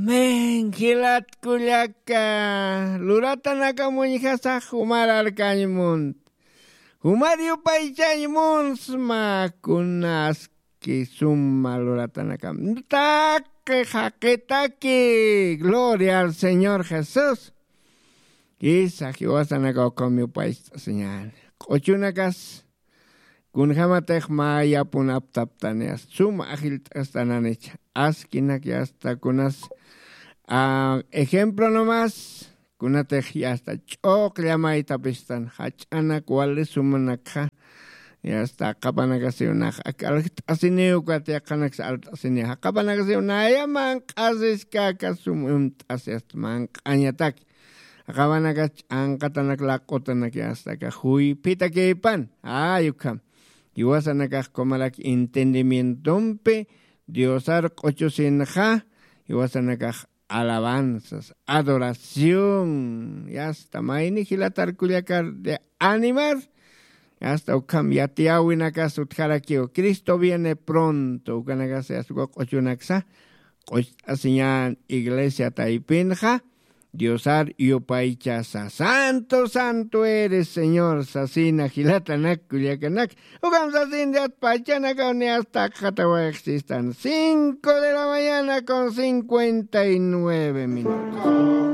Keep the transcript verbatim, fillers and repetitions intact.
Amén. Jilat kullaka, luratanakamuñjasax jumararkañ munt. Jumar yupaychañ munsma kunaski suma luratanakam. Taqi jaqitaki. Gloria al Señor Jesús. Isa jiwasanaka ukham yupaycht'asiñäni. Q'uchunakas kunjämatix mä yapun aptaptani, asta suma ajillt'astananich. Askinak asta kunas, ah, ejemplo nomás, kunatix asta ch'uqlla maythapistan jach'anak wali sumanakxa. Asta jaqapanakasiw nax ak aljt'asiniw, ukat yaqhanaksa alt'asiniw. Jaqapanakasiw naya manq'asiskaka sum imt'asi asta manq'añatak. Jaqawanakas ch'anqatanak laq'utanak yastaka juyphitakipan. Ay, ukham. Jiwasanakax kumalak entendimientompi Diosar q'uchusinxa, jiwasanakax alabanzas, adoración, yasta mayni jilatar kullakar de animar, yasta ukham yatiyäwinakas utjarakiw. Cristo viene pronto, ukanakas yasta uka q'uchunaksa q'ucht'asiñän iglesia taypinxa, Diosar yupaychasa. Santo, santo eres, Señor, sasina jilatanak kullakanak. Ukham sasin Dios pachanakaw ni asta akxatawayxsistan. Cinco de la mañana con cincuenta y nueve minutos.